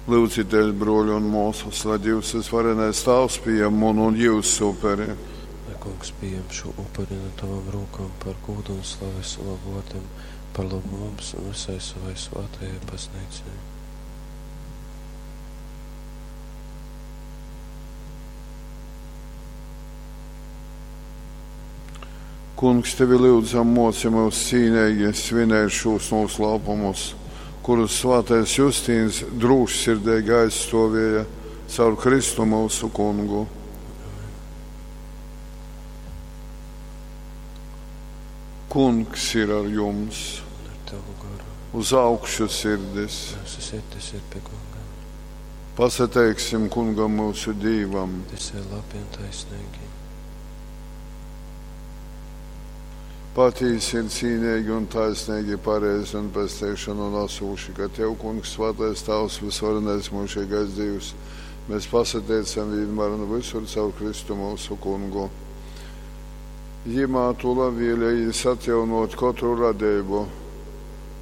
Lyudzitēs, brōļi un mōsas, lai Dīvs vysvarenais Tāvs pījam munu un jyusu uperi. Lai Kungs pījam šū upuri nu tovom rūkom par gūdu un slavi sovam vōrdam, par lobu mums un vysai sovai svātajai Bazneicai. Kungs, tevi lyudzam, mōci myus cīneigi svinēt šūs nūslāpumus, kurus svātais Justīns drūšsirdeigi aizstōvēja caur Kristu myusu Kungu. Kungs ir ar jums. Un ar tavu goru. Uz augšu sirdis. Mūsu sirdis ir pie Kunga. Pasateiksim Kungam myusu Dīvam. Tas ir labi un taisnīgi. Patīsi ir cīnīgi un taisnīgi, pareizi un pesteišanu nesūši, ka Tev, Kungs, svētais Tavs, visvarenais mūžīgais Dievs, mēs pasateicam vienmēr un visur caur Kristu mūsu Kungu. Jimā Tu labvēlējies atjaunot katru radību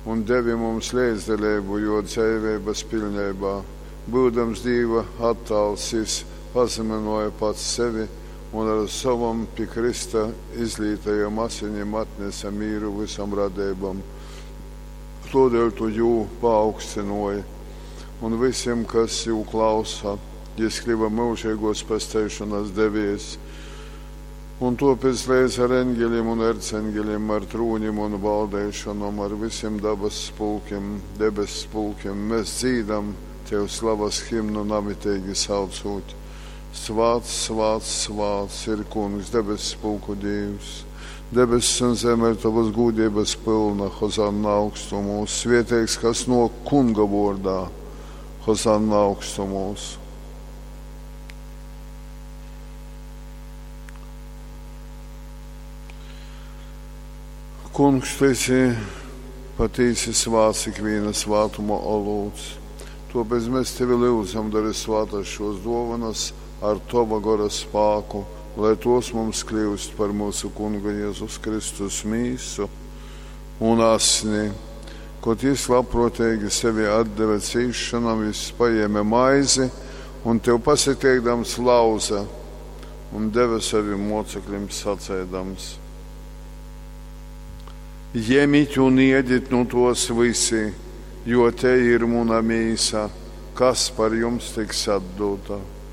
un devi mums līdzdaļību, jo dzīvības pilnībā, būdams Dieva attāls, jis pazemināja pats sevi un ar savam pie Krista izlītajam asinim atnesa mīru visam radībam. Todēļ tu jū paaugstināji, un visiem, kas jū klausa, jis kļuva mūžīgos pesteišanas devies. Un topēc līdz ar eņģeļiem un erceņģeļiem, ar trūņiem un valdēšanom, ar visiem dabas spulkiem, debes spulkiem, mēs dzīdam Tev slavas himnu namitīgi saucot. Svāts, svāts, svāts ir Kungs, debesu pulku Dievs. Debesis un zeme ir tavas gūdības pilna, Hozanna augstumos. Svētīgs, kas no Kunga vārdā, Hozanna augstumos. Kungs, tu esi patīsi svāts ikviena svātuma olūts. Tāpēc mēs tevi lūdzam, dari svātas šos dovanas ar tava gora spāku, lai tos mums kļūst par mūsu Kunga Jēzus Kristus mīsu un asni. Kad jis labprātīgi sevi atdeva cīšanam, jis paēma maizi un tev pasateikdams lauza un deva saviem mocekļiem sacēdams. Ņemiet un iediet nu tos visi, jo te ir muna mīsa, kas par jums tiks atdota.